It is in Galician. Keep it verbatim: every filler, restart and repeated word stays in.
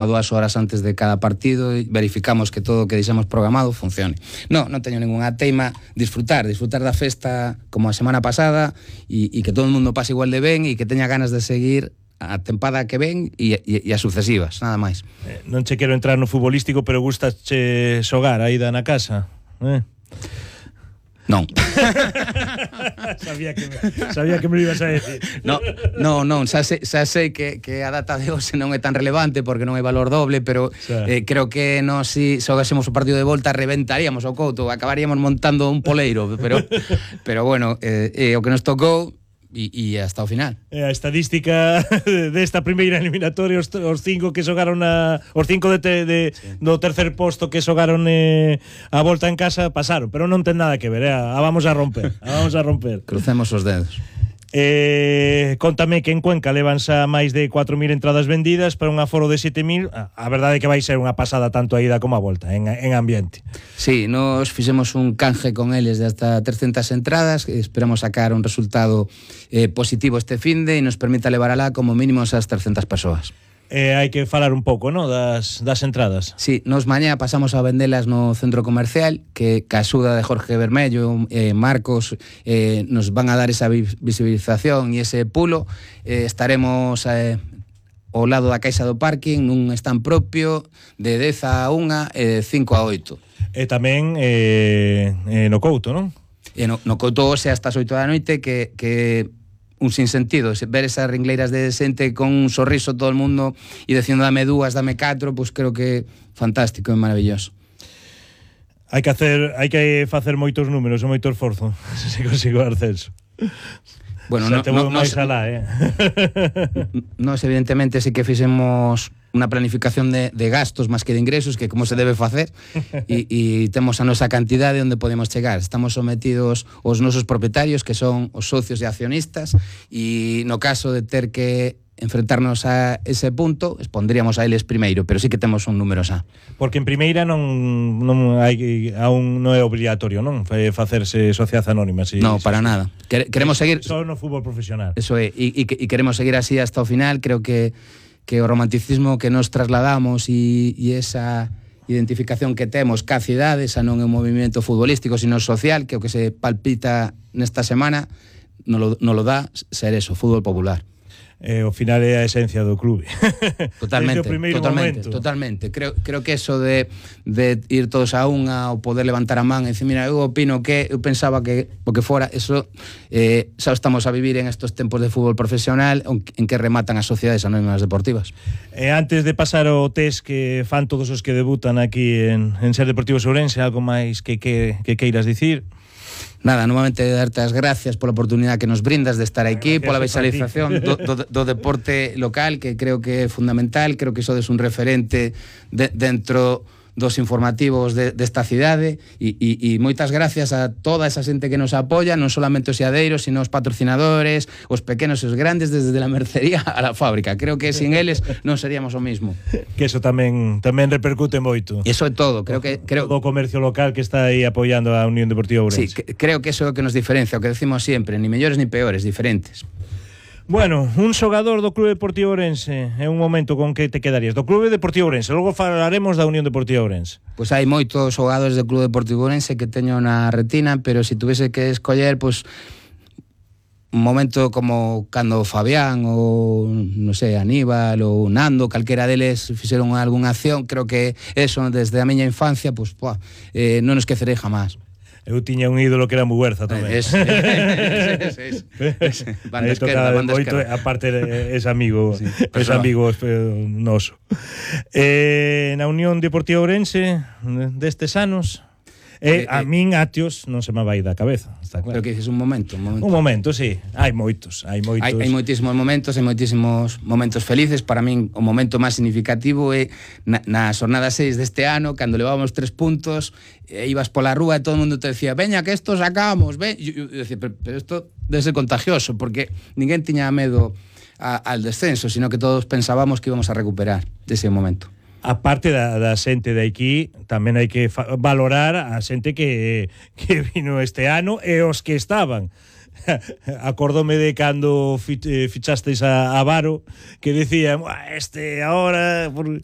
dúas horas antes de cada partido e verificamos que todo o que deixamos programado funcione. Non, non teño ninguna teima, disfrutar, disfrutar da festa como a semana pasada e, e que todo o mundo pase igual de ben e que teña ganas de seguir a tempada que ven e, e, e as sucesivas, nada máis. Eh, non che quero entrar no futbolístico, pero gustache xogar aí da na casa, eh? Non. sabía, que me, sabía que me lo ibas a decir. No, no, non, xa sei, xa sei que, que a data de hoxe non é tan relevante porque non hai valor doble, pero xa. eh, creo que nós si xogásemos o partido de volta reventaríamos o Couto, acabaríamos montando un poleiro, pero pero bueno, eh, eh, o que nos tocou e, e hasta o final. Eh, a estadística desta primeira eliminatoria, os, os cinco que xogaron a, os cinco de, te, de sí. do tercer posto que xogaron eh, a volta en casa pasaron, pero non ten nada que ver, eh, a vamos a romper, a vamos a romper. Crucemos os dedos. Eh, contame que en Cuenca levan xa máis de cuatro mil entradas vendidas para un aforo de sete mil. A verdade é que vai ser unha pasada tanto a ida como a volta en, en ambiente. Sí, nos fixemos un canje con eles de hasta trescentas entradas, esperamos sacar un resultado eh, positivo este finde e nos permita levar alá como mínimo esas trescentas persoas. Eh, hai que falar un pouco, ¿no? das, das entradas. Sí, nos mañá pasamos a vendelas no centro comercial, que ca axuda de Jorge Bermello, eh, Marcos, eh, nos van a dar esa visibilización e ese pulo. Eh, estaremos eh, ao lado da caixa do parking, nun stand propio, de dez a unha e de cinco a oito. E tamén eh, eh, no Couto, non? E no, no Couto hoxe hasta as oito da noite, que... que un sinsentido, ver esas ringleiras de xente con un sorriso todo o mundo e dicindo dame dúas, dame catro, pois creo que fantástico e maravilloso. Hai que hacer, hai que facer moitos números e moito esforzo se consigo o ascenso. Bueno, no, te vou máis alá, eh. Nós evidentemente sí que fixemos unha planificación de, de gastos máis que de ingresos, que como se debe facer, e, e temos a nosa cantidade onde podemos chegar. Estamos sometidos aos nosos propietarios, que son os socios e accionistas, e no caso de ter que enfrentarnos a ese punto, expondríamos a eles primeiro, pero sí que temos un número xa. Porque en primeira non non hai aún non é obrigatorio, non? Facerse sociedade anónima, si. No, para nada. Queremos seguir só no fútbol profesional. Eso é, e, e, e queremos seguir así hasta o final. Creo que que o romanticismo que nos trasladamos e, e esa identificación que temos ca cidade, esa non é un movimento futbolístico, sino social, que o que se palpita nesta semana non lo, non lo dá ser eso, fútbol popular. Eh, ao final é a esencia do clube. Totalmente, totalmente, momento. totalmente. Creo, creo que eso de, de ir todos a unha ou poder levantar a man e dicir, mira, eu opino que eu pensaba que o que fora, eso eh, xa estamos a vivir en estos tempos de fútbol profesional en que rematan as sociedades anónimas deportivas. E antes de pasar ao test que fan todos os que debutan aquí en, en Ser Deportivos Ourense, algo máis que, que, que queiras dicir? Nada, novamente darte as gracias pola oportunidade que nos brindas de estar aquí, pola visualización do, do, do deporte local, que creo que é fundamental. Creo que sodes un referente de, dentro dos informativos de, desta cidade e, e, e moitas gracias a toda esa xente que nos apoia, non solamente os seadeiros, sino os patrocinadores, os pequenos e os grandes, desde a mercería a la fábrica. Creo que sin eles non seríamos o mismo. Que eso tamén tamén repercute moito. Eso é todo. Creo que creo todo o comercio local que está aí apoiando a Unión Deportiva Ourense. Sí, que, creo que eso é o que nos diferencia, o que decimos sempre, ni mellores ni peores, diferentes. Bueno, un xogador do Clube Deportivo Ourense, é un momento con que te quedarías do Clube Deportivo Ourense, logo falaremos da Unión Deportiva Ourense. Pois hai moitos xogadores do Clube Deportivo Ourense que teño na retina, pero se tuvese que escoller, pois un momento como cando Fabián ou, non sei, Aníbal ou Nando, calquera deles fixeron algunha acción, creo que eso desde a miña infancia, pois, pois eh, non nos esquecerei jamás. Eu tiña un ídolo que era Muguerza tamén. Es, es, es, es, es. Banda esquerda, banda esquerda. Aparte es amigo, sí, es amigo noso. Eh, na Unión Deportiva Ourense destes anos, eh, a min Atios non se me vai da cabeza, está claro. Pero que dices un momento, un momento. Un momento, sí. Hai moitos, hai moitos. Hai, hai moitísimos momentos, hai moitísimos momentos felices. Para min o momento máis significativo é na, na xornada seis deste ano, cando levábamos tres puntos, e ibas pola rúa e todo o mundo te decía, veña que esto sacamos, ven. E eu decía, pero, pero esto debe ser contagioso, porque ninguén tiña medo a, al descenso, sino que todos pensábamos que íbamos a recuperar dese momento. A parte da, da xente de aquí, tamén hai que valorar a xente que, que vino este ano e os que estaban. acordome de cando fichasteis a, a Varo, que decía, este ahora por,